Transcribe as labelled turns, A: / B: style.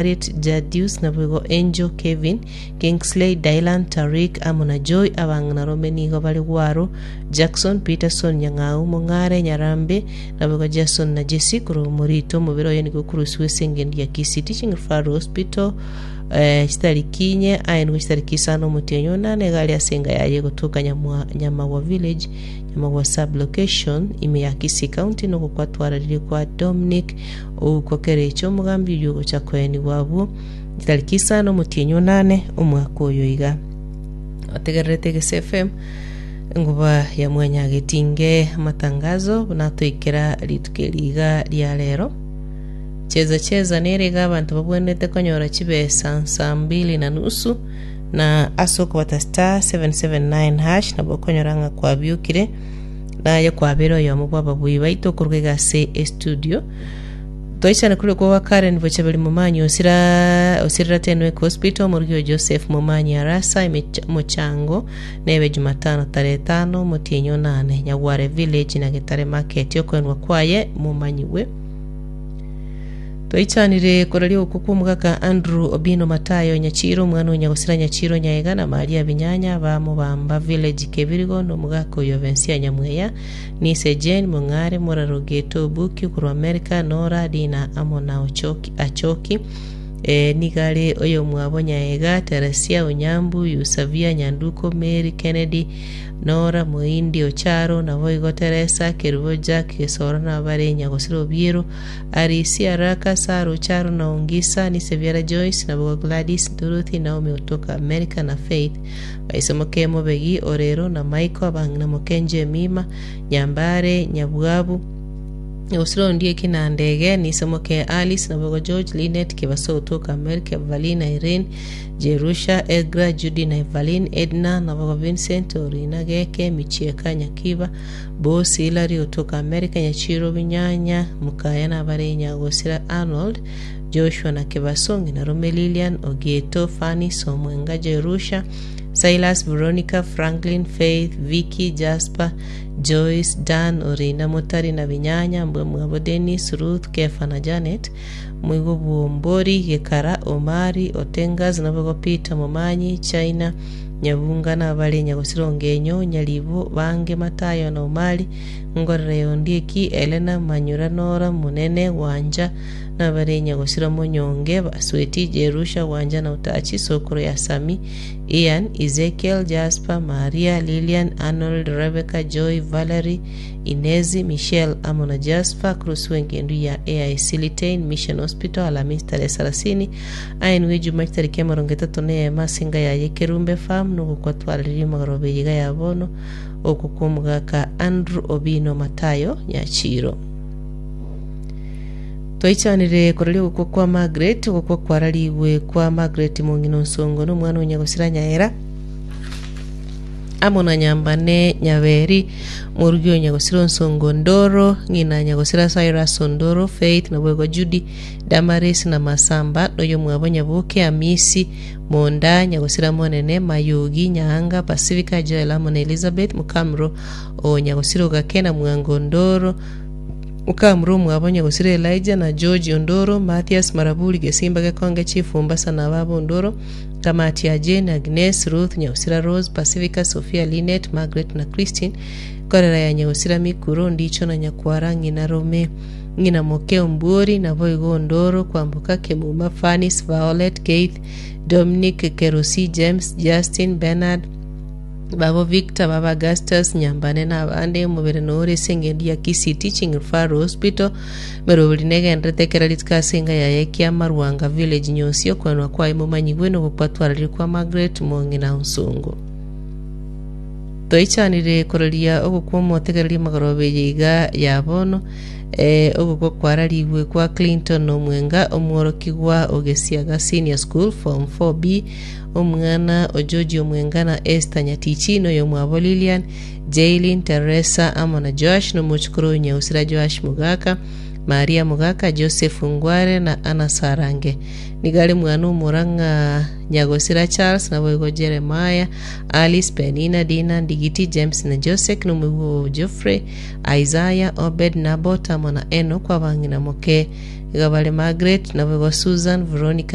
A: Harriet, Jadius, naboigo Angel, Kevin, Kingsley, Dylan, Tariq, amo na Joy. Abang'inarome nigo bare Gwaro, Jackson, Peterson, Nyang'au, Mong'are, Nyarambe, naboigo Jason na Jesse. Korwa omorito omobere oye nigo okorusigwa ase engencho ya Kisii Teaching Referral Hospital eh, chitariki inye aye nigo chitariki isano omotienyi onane iga aria ase enga yaye egotoka Nyamwa, Nyamagwa Village, Nyamagwa Sub-location, ime ya Kisii County, nogokwa twararirie kwa Dominic Ouko kerecha omogambi oyio ogocha koenigwa abwo chitariki isano omotienyi onane omwaka oyo iga. Otegererete Egese FM enguba ya mwanyagetinge amatangazo buna atoikera rituko eri iga ria rero. Cheza cheza nere iga abanto babwenerete konyora chibesa saa mbili na nusu na ase okobata star 779 hash nabo okonyora ng'a kwabiokire Naye kwabeire oyomo bw'ababuyi baito okoruga iga ase estudio. Toichane koria okwo gwa Karen Bochaberi Momanyi osira osirera Tenwek Hospital, omorugi o Joseph Momanyi Arasa emech omochango nebe Jumatano tarehe etano omotienyi onane Nyagware Village na Getare Market okoenwa kwaye momanyigwe. Toichanire koraria okwo kw'omogaka Andrew Obino Matayo Nyachiro omwana o Nyagosira Nyachiro Nyaega na Maria Binyanya ba Mobamba Village Kebirigo na omogaka oyo Bensia Nyamweya Nise Jane Mong'are Moraro Geto Obuki korwa America Nora Dina amo na Ochoki Achoki eh, nigo are oyomwabo Nyaega Teresia Onyambu Yusavia Nyanduko Mary Kennedy Nora Moindi Ocharo naboigo Teresa Kerubo Jack Gesoro nabare Nyagosira Obiero Arisia, Raka, Sara, Ocharo, na Ongisa, Nisebiara Joyce, naboigo Gladys, Dorothy, Naomi otoka America, na Faith, baise moke Mobegi, Orero, na Michael, abang'ina moke Jemima, Nyambare, Nyabwabu, Nyagusira Ondieki na Ndege, Nise moke Alice, naboigo George, Linet, Kebaso otoka America, Valina, Irene, Jerusha, Egra, Judy na Evaline, Edna, naboigo Vincent, Orina, Geke, Michieka, Nyakiba, Bosi, Hillary otoka America, Nyachiro, Binyanya, Mukaya na abare Nyagosira, Arnold, Joshua na Kebaso, ng'ina Rome, Lilian, Ogieto, Fanny, Somwenga, Jerusha, Silas, Veronica, Franklin, Faith, Vicky, Jasper, Joyce, Dan, Orina, Motari na Binyanya, mbwe mwabo Dennis, Ruth, Kefa na Janet, Moigo Bwombori, Gekara, Omari, Otengas, naboigo Peter, Momanyi, China, Nyabunga nabare Nyagosira Ongenyo, Nyaribo, Bange, Matayo na Omari, Ngorera ya Ondieki, Elena, Manyura, Nora, Monene, Gwancha, nabare Nyagosira Monyonge, Basweti, Jerusha, Gwancha na Otachi, Sokoro ya Sami, Ian, Ezekiel, Jasper, Maria, Lilian, Arnold, Rebecca, Joy, Valerie, Inezi, Michelle amo na Jasper, Cruz w'engendu ya AIC Litein Mission Hospital, Alamisi tarehe sarasini, Aenigwe ejuma chitariki emerongo etato na eyemo ase enka yaye Kerumbe Farm nogokwa twararirie magoroba eye iga ya bono, okwo kw'omogaka Andrew Obino Matayo Nyachiro. Twaichanire koraria ogokwa kwa Margaret, ogokwa kwararigwe kwa Margaret mong'ina Onsongo na omwana o Nyagosira Nyaera, amo na Nyambane Nyaberi, morugi o Nyagosira Onsongo Ndoro, ng'ina Nyagosira Cyrus Ondoro, Faith naboigo Judy, Damaris na Masamba, na oyomwabo Nyaboke, Amisi, Monda, Nyagosira Monene, Mayogi, Nyaanga, Pacifica, Joel amo na Elizabeth, mokamuro o Nyagosira Ogake na Mwango Ondoro, mokamuro omwabo Nyagosira Elijah na George Ondoro, Mathias Maraburi, Gesimba Gekonge, Chief Mombasa na ababo Ondoro, Kamati ya Jane, Agnes, Ruth, Nyagosira Rose, Pacifica, Sophia, Linet, Margaret na Christine, Korera ya Nyagosira Mikuro, Ndicho na Nyakwara, ng'ina Rome, Ng'ina moke Ombuori, naboigo Ondoro, Kwamboka, Kemuma, Fanis, Violet, Keith, Dominic, Kerosi, James, Justin, Bernard, babo Victor, baba Augustus, Nyambane na abande, omobere nore ase engencho ya Kisii Teaching Referral Hospital, Meroberi negenderete ekero rituko ase enga yaye Kiamarwanga Village Nyosi, okwenwa kwaye momanyigwe nogokwa twararire kwa Margaret Mong'ina Onsongo. Toichanire koraria ogokwa omotegereri magoroba eye iga ya bono, ee, ogokwa kwararigwe kwa Clinton Omwenga, omworokigwa o Gesiaga Senior School Form 4B, omwana o George Omwenga na Esther Nyatichi, na oyomwabo Lilian, Jaylin, Teresa amo na Joash, na omochukuru o Nyausira Joash Mogaka, Maria Mogaka, Joseph Ngware na Anna Sarange. Nigo are mwana omora ng'a Nyagosira Charles, naboigo Jeremiah, Alice, Penina, Dina, Ndigiti, James na Josek, na omoigwa o Geoffrey, Isaiah, Obed, Nabot, amo na Enoch, abang'ina moke. Iga bare Margaret, naboigo Susan, Veronica.